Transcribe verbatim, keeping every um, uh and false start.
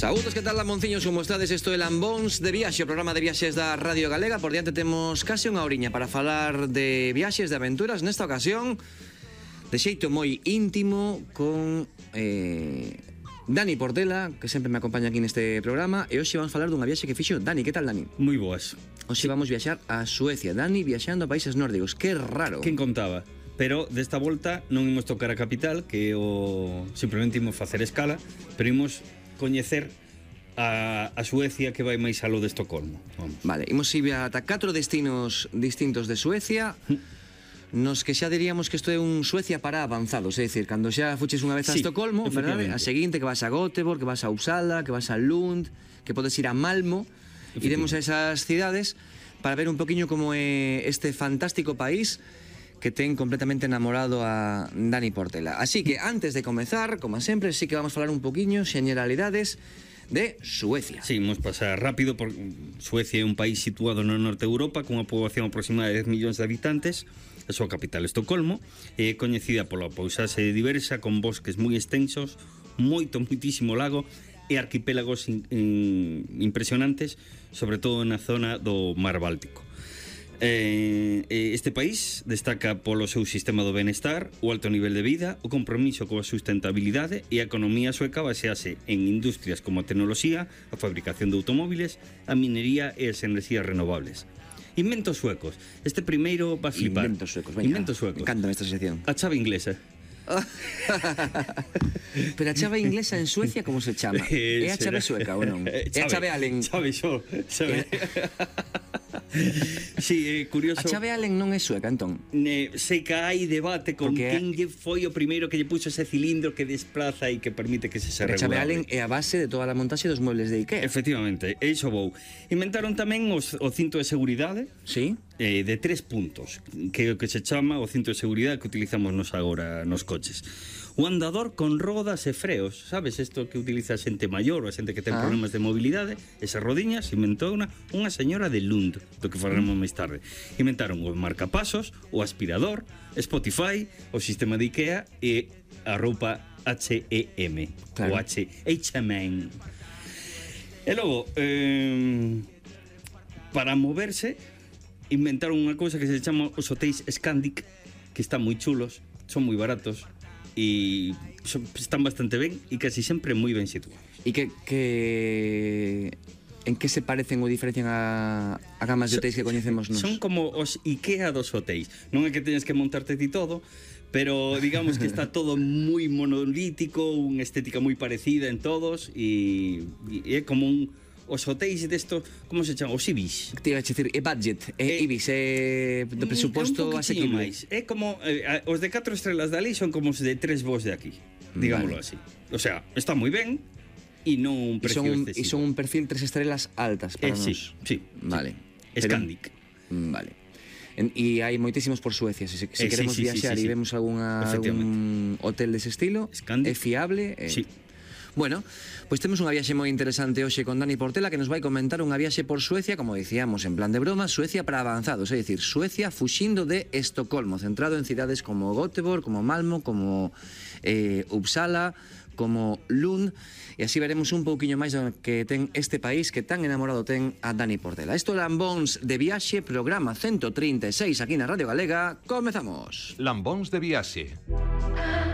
Saúdos, que tal, lamonciños, como estades? Isto é Lambóns de Viaxe, o programa de viaxes da Radio Galega. Por diante temos case unha horiña para falar de viaxes, de aventuras. Nesta ocasión, de xeito moi íntimo, con eh, Dani Portela, que sempre me acompaña aquí neste programa. E hoxe vamos falar dunha viaxe que fixo Dani. Que tal, Dani? Moi boas. Hoxe vamos viaxar a Suecia. Dani viaxando a países nórdicos. Que raro. Quen contaba? Pero desta volta non imos tocar a capital, que o simplemente imos facer escala, pero imos coñecer a, a Suecia, que vai máis alo de Estocolmo. Vamos. Vale, imos ir ata catro destinos distintos de Suecia, nos que xa diríamos que isto é un Suecia para avanzados, é dicir, cando xa fuches unha vez a Sí, Estocolmo, verdade? A seguinte que vas a Göteborg, que vas a Uppsala, que vas a Lund, que podes ir a Malmo. Iremos a esas cidades para ver un poquinho como é este fantástico país que ten completamente enamorado a Dani Portela. Así que, antes de comezar, como sempre, sí que vamos a falar un poquinho, generalidades de Suecia. Sí, vamos pasar rápido, porque Suecia é un país situado no norte de Europa, con unha poboación aproximada de dez millóns de habitantes. A súa capital, Estocolmo, é coñecida pola paisaxe diversa, con bosques moi extensos, moito, moitísimo lago, e arquipélagos in, in, impresionantes, sobre todo na zona do Mar Báltico. Eh, este país destaca polo seu sistema do benestar, o alto nivel de vida, o compromiso coa sustentabilidade e a economía sueca basease en industrias como a tecnoloxía, a fabricación de automóviles, a minería e as enerxías renovables. Inventos suecos. Este primeiro vas flipar. Inventos suecos, venga. Inventos suecos. Me encanta esta sección. A chave inglesa. Pero a chave inglesa en Suecia como se chama? Eh, É a chave sueca ou non? É a chave Allen. Chave xo, chave. Sí, é curioso. A chave Allen non é sueca, entón? Ne, sei que hai debate con Porque quen lle foi o primeiro que lle puxo ese cilindro que desplaza e que permite que se se A chave Allen regulable. é a base de toda a montaxe dos muebles de Ikea. Efectivamente, e iso vou. Inventaron tamén os, o cinto de seguridade Sí? eh, de tres puntos, que é o que se chama o cinto de seguridade que utilizamos nos agora nos coches. O andador con rodas e freos, sabes, isto que utiliza a xente maior ou a xente que ten Ah. problemas de mobilidade, esas rodiñas inventou unha, unha señora de Lund, do que falaremos máis tarde. Inventaron o marcapasos, o aspirador, Spotify, o sistema de Ikea e a roupa H e M, Claro. o H e M. E logo, eh, para moverse, inventaron unha cousa que se chama os hotéis Scandic, que están moi chulos, son moi baratos e son, están bastante ben e casi sempre moi ben situados. E que, que... En que se parecen ou diferencian a, a gamas de hotéis que coñecemos nos? Son como os Ikea dos hotéis. Non é que teñas que montarte ti todo, pero digamos que está todo moi monolítico, unha estética moi parecida en todos e, e é como un os hotéis desto, como se chama? Os Ibis. Te iba a dicir, é budget, é Eh, Ibis, é do presuposto é un poquitiño asequible. máis. É como eh, os de catro estrelas de ali son como os de tres vos de aquí, digámoslo Vale. así. O sea, está moi ben e non un E precio son, excesivo. e son un perfil tres estrelas altas para eh, nós. sí, sí. Vale. Sí. Pero- Scandic. Mm, Vale. En, e hai moitísimos por Suecia. Se, se Eh, sí, queremos sí, sí, viaxar sí, e sí. vemos alguna, algún hotel dese estilo, é Scandic. fiable. É... Sí. Bueno, pois temos unha viaxe moi interesante hoxe con Dani Portela, que nos vai comentar unha viaxe por Suecia, como dicíamos, en plan de broma, Suecia para avanzados, é dicir, Suecia fuxindo de Estocolmo, centrado en cidades como Göteborg, como Malmo, como eh, Uppsala, como Lund, e así veremos un pouquiño máis do que ten este país que tan enamorado ten a Dani Portela. Isto é Lambóns de Viaxe, programa ciento trinta e seis aquí na Radio Galega. Comezamos. Lambóns de Viaxe.